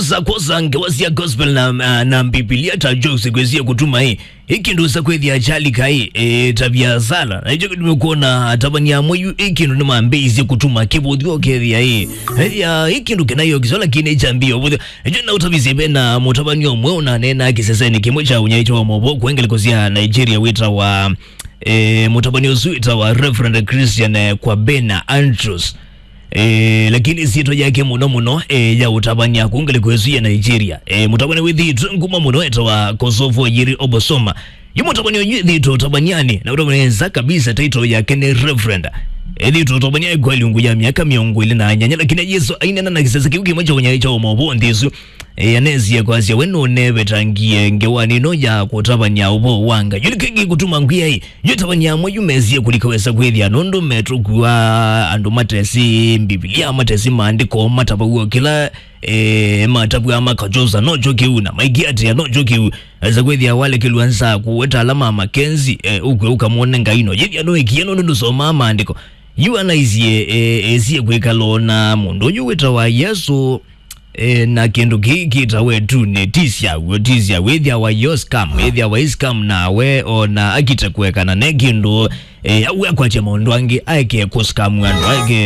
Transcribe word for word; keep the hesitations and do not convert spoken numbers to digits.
Za kwosa ngewa sya gospel na, na, na Mbivilia ta jokes kwĩsie kũtuma ĩ, ĩ kĩndũ sa kwĩthĩa kyalika ĩ, ĩ, ta viasala. Na ĩkyo kĩtumi kwona atavany'a amwe yu ĩ kĩndũ nĩmambĩĩisye kũtuma kĩvũthyo ũkethĩa ĩ, ethĩa ĩ kĩndũ kĩna yokisyo lakini kyambĩĩa ũvũthyo. Ĩkyo na ũtavisye ve na mũtavany'a ũmwe ũnaneenaa kĩsesenĩ kĩmwe kya ũnyaĩĩkyo wa maũvoo kwa ngelekany'o sya Nigeria wĩtawa, ĩ, mũtavany'a ũsu wĩtawa Reverend Christian, ĩ, Kwabena Andrews. E, lakini syĩtwa yake mũno mũno, e, ya ũtavany'a kũu ngalĩko ĩsu ya Nigeria. E, mũtavany'a wĩthĩĩtwe nguma mũno etawa Kosovo Yiri Obosoma. Yu mũtavany'a ũyũ ethĩĩtwe ũtavany'anĩ, na ũtavany'a nza kabisa title yake nĩ Reverend. Ethĩĩtwe ũtavany'a kwa ĩlungu ya myaka mĩongo ĩlĩ na nyanya, lakini Yesũ aineena na kĩsese kĩu kĩmwe kya ũnyaĩĩkyo wa maũvoo nthĩ ĩsu. E, anesie kwasya we nũnevetangie ngewanĩ ĩno ya kũtavany'a ũvoo wa Ngai. Yu nĩkĩ kĩkũtuma ngwĩa ĩ, yu atavany'a amwe yu mesie kũlika wesa kwĩthĩa nũndũ metũkua andũ matesi Mbivilia, matesi maandĩko matavaw'a kĩla, e, matavw'a makakyosa nokyo kĩu na maikĩatĩa nokyo kĩu. Esa kwĩthĩa walekelw'a nza kũweta ala ma Makenzi, e, ũkw'e ũkamwone Ngai no yĩthĩa nũĩkie nũndũ ndũsomaa maandĩko. Yu anaisie, e, esie kwĩkala na mũndũ ũyũ wĩtawa Yesũ. E, na kĩndũ kĩĩ kĩtawa ĩtunĩ, ti syaw'o, ti syaw'o, ĩthĩawa yo scam, ĩthĩawa ĩ scam nawe, ona akite kũekana ne kĩndũ, e, au akwatya maũndũ angĩ, aeke kũ scam andũ, aeke